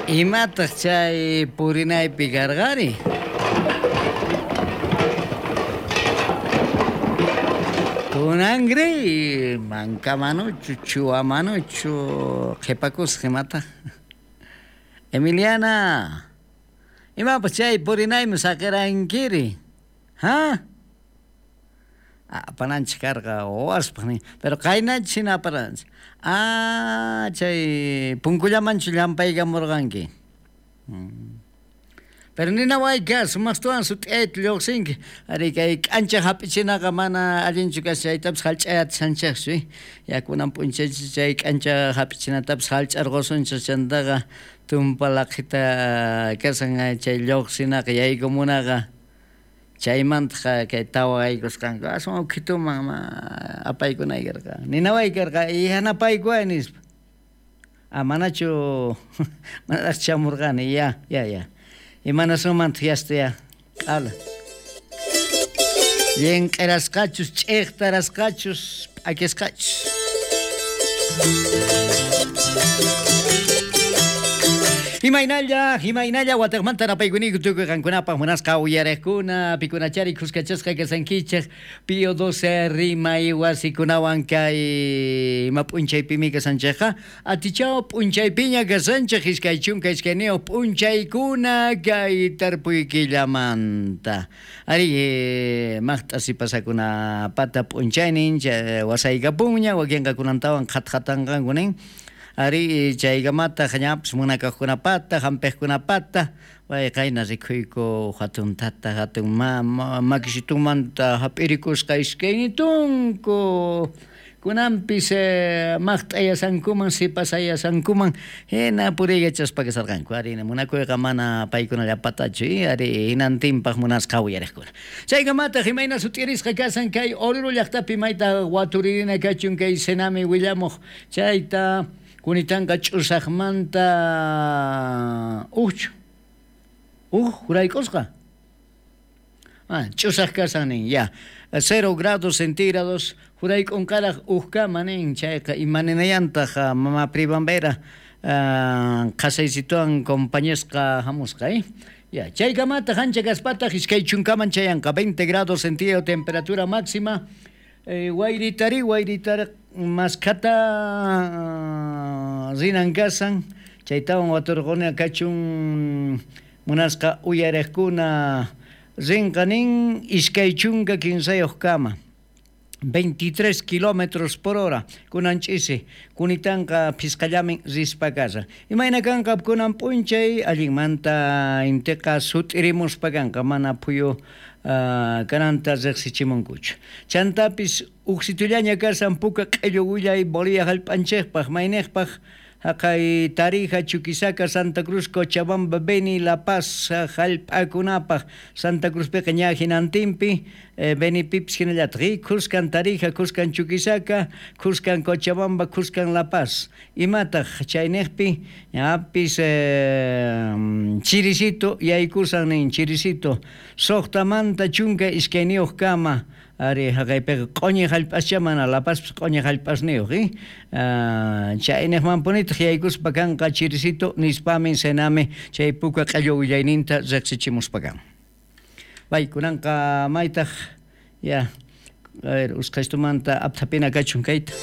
Imataq chay purinaypi karqari? Kunanri manka manuchu, chuwa manuchu qhipakusaq imataq? Emiliana, imapas chay purinaymi saqirankiri? Ha? Apananchik karqa wawaspaq nin, pero qaynanchik hina aparanchik. Ah, chay punkullamanchu llampaykamurqanki? Pero ninawayka sumaqtawan sut'iyayta lluqsinki. Ari kay k'ancha hap'ichinaqa mana allinchu kashan chaytapis hallch'ayatishanchikchu. Ya kunan p'unchaychis chay k'ancha hap'ichinatapis hallch'arqusunchik chantaqa tumpa laqhita kashan chay lluqsinaqa yaykumunaqa. Chaymantaq kay tawaykusqanku aswan ukhituman ma apaykunay karqa. Ninaway karqa yanapaykuway nispa. Ah, manachu manaraq chamurqani ya, ya, ya. Imanasunmantaq yasta ya. Q'ala. Llinq'irasqachus, ch'iqtarasqachus, p'akisqachus. Imaynalla, imaynalla watejmanta napaykuniyku tukuy qankunapaq munasqa uyariqkuna, pikunachari khuskachasqa kasankichej Pío 12 rimay wasikunawan kay ima p'unchaypimi kasanchejqa, atichaw p'unchaypiña kasanchej 22 p'unchaykuna kay tarpuy killamanta. Ari, maqt'a sipasakunapata p'unchaynin wasaykapunña, wakinqa kunantawan qhatqatanqanku nin. Ari, chaykamataq ñapis munakaqkunapata, hampiqkunapata, pay qayna rikhuyku hatun tata, hatun mama, makisitunmanta hap'irikusqa iskaynitunku. Kunanpis maqt'ayasankuman, sipasayasankuman hina puriykachaspa kasarqanku. Ari, munakuyqa mana paykunallapatachu, ari, hinantinpaq munasqa uyariqkuna. Chaykamataq imayna sut'irisqa kasan kay Oruro llaqtapi mayta waturirina kachun kay Senami willamuq chayta kunitanqa ch'usaqmanta ujchu uj jurayk'usqa. Ah, ch'usaq kasan nin, ya. 0 grados centígrados jurayk'unqaraq ujkama nin, chayqa imaninayantaq mama Pribambera qhasaysituwan compañasqa hamusqa, eh? Ya, chaykamataq ancha kaspataq 20man chayanqa, 20 grados centígrado temperatura máxima. Wayritari, wayritari maskhata rinan kasan, chaytawan waturquna kachun munasqa uyariqkuna rinqa nin 23 kama 23 kilómetros por hora kunan ch'isi kunitanqa phisqallamin rispa kashan. Imayna kanqa kunan p'unchay? Allinmanta intiqa sut'irimuspa kanqa, mana phuyu kananta riqsichimunkuchu. Chantapis uksitullaña kashan puka q'illu willay Bolivia hallp'anchikpaq, mayniqpaq haqay Tarija, Chuquisaca, Santa Cruz, Cochabamba, Beni, La Paz hallp'akunapaq. Santa Cruzpiqa ña hinantinpi, Benipipis hinallataq, khuskan Tarija, khuskan Chuquisaca, khuskan Cochabamba, khuskan La Paz. Imataq chayniqpi? Ñapis chirisito yaykusan nin, chirisito 6manta 12 kama. Ari, haqaypiqa q'uñi hallp'ascha, mana La Pazpis q'uñi hallp'asniyuq, chayniqmanpunitaq yaykuspa kanqa chirisito nispamin Sename chay puka q'illu willayninta riqsichimuspa kan. Bay, kunanqa maytaq ya, a ver, usqhaystumanta apthapina kachun kayta.